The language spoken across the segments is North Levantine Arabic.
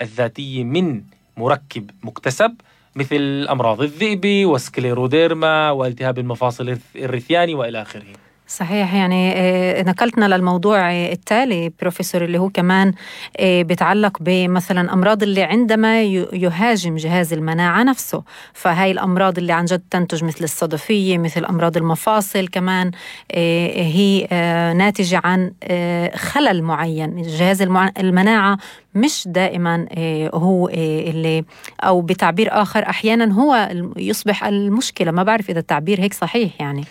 الذاتية من مركب مكتسب مثل أمراض الذئب وسكليروديرما والتهاب المفاصل الرثياني وإلى آخره. صحيح. يعني نقلتنا للموضوع التالي بروفيسور، اللي هو كمان بيتعلق بمثلا أمراض اللي عندما يهاجم جهاز المناعة نفسه. فهاي الأمراض اللي عن جد تنتج مثل الصدفية، مثل أمراض المفاصل كمان، هي ناتجة عن خلل معين. جهاز المناعة مش دائما هو اللي، أو بتعبير آخر أحيانا هو يصبح المشكلة. ما بعرف إذا التعبير هيك صحيح. يعني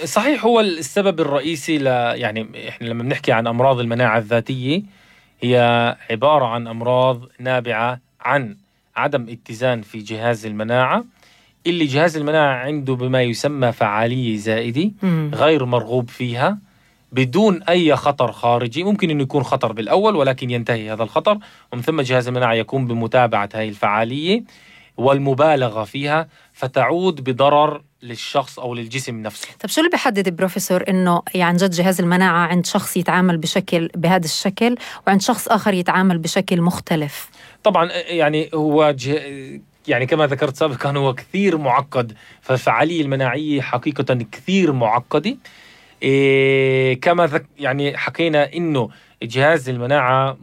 صحيح، هو السبب الرئيسي يعني إحنا لما بنحكي عن أمراض المناعة الذاتية هي عبارة عن أمراض نابعة عن عدم اتزان في جهاز المناعة، اللي جهاز المناعة عنده بما يسمى فعالية زائدة غير مرغوب فيها بدون أي خطر خارجي. ممكن أنه يكون خطر بالأول ولكن ينتهي هذا الخطر، ومن ثم جهاز المناعة يقوم بمتابعة هذه الفعالية والمبالغة فيها، فتعود بضرر للشخص أو للجسم نفسه. طب شو اللي بيحدد بروفيسور إنه يعني جد جهاز المناعة عند شخص يتعامل بهذا الشكل وعند شخص آخر يتعامل بشكل مختلف؟ طبعا يعني هو يعني كما ذكرت سابقا هو كثير معقد، فالفعالية المناعية حقيقة كثير معقدة. كما يعني حكينا إنه جهاز المناعة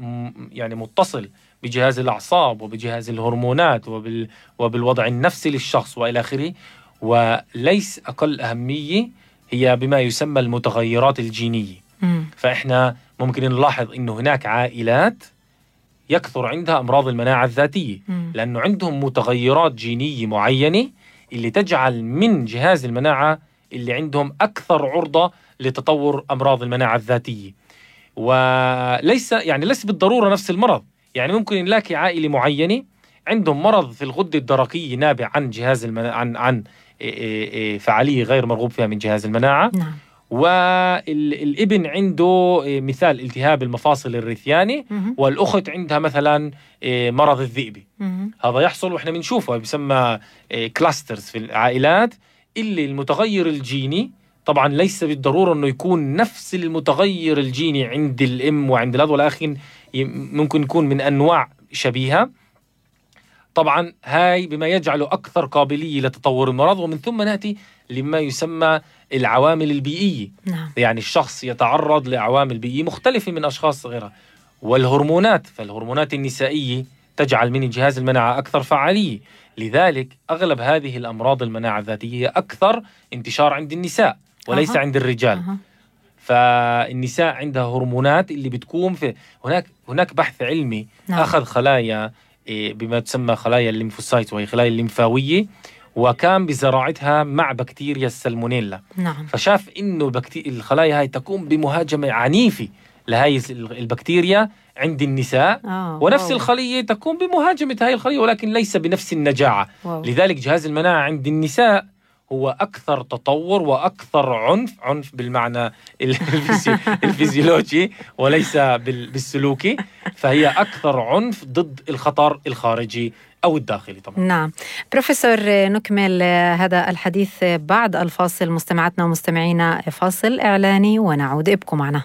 يعني متصل بجهاز الأعصاب وبجهاز الهرمونات وبالوضع النفسي للشخص وإلى آخره، وليس أقل أهمية هي بما يسمى المتغيرات الجينية. فإحنا ممكن نلاحظ إنه هناك عائلات يكثر عندها أمراض المناعة الذاتية لأنه عندهم متغيرات جينية معينة اللي تجعل من جهاز المناعة اللي عندهم أكثر عرضة لتطور أمراض المناعة الذاتية. وليس بالضرورة نفس المرض. يعني ممكن نلاقي عائلة معينة عندهم مرض في الغدة الدرقية نابع عن جهاز عن فعالية غير مرغوب فيها من جهاز المناعة. نعم. والابن عنده مثال التهاب المفاصل الرثياني، والأخت عندها مثلا مرض الذئبي. هذا يحصل وإحنا بنشوفه، بيسمى كلاسترز في العائلات، اللي المتغير الجيني طبعا ليس بالضرورة أنه يكون نفس المتغير الجيني عند الأم وعند الأب، ولكن ممكن يكون من أنواع شبيهة. طبعا هاي بما يجعله أكثر قابلية لتطور المرض. ومن ثم نأتي لما يسمى العوامل البيئية. نعم. يعني الشخص يتعرض لعوامل بيئية مختلفة من أشخاص غيرها. والهرمونات، فالهرمونات النسائية تجعل من جهاز المناعة أكثر فعالية. لذلك أغلب هذه الأمراض المناعة الذاتية أكثر انتشار عند النساء وليس عند الرجال. فالنساء عندها هرمونات اللي بتكون في هناك بحث علمي. نعم. أخذ خلايا بما تسمى خلايا الليمفوسايت وهي خلايا الليمفاوية، وكان بزراعتها مع بكتيريا السالمونيلا. نعم. فشاف إنه الخلايا هاي تقوم بمهاجمة عنيفة لهاي البكتيريا عند النساء، ونفس الخلية تقوم بمهاجمة هاي الخلية ولكن ليس بنفس النجاعة. لذلك جهاز المناعة عند النساء هو أكثر تطور وأكثر عنف بالمعنى الفيزيولوجي وليس بالسلوكي، فهي أكثر عنف ضد الخطر الخارجي أو الداخلي طبعا. نعم. بروفيسور، نكمل هذا الحديث بعد الفاصل. مستمعاتنا ومستمعينا، فاصل إعلاني ونعود، ابقوا معنا.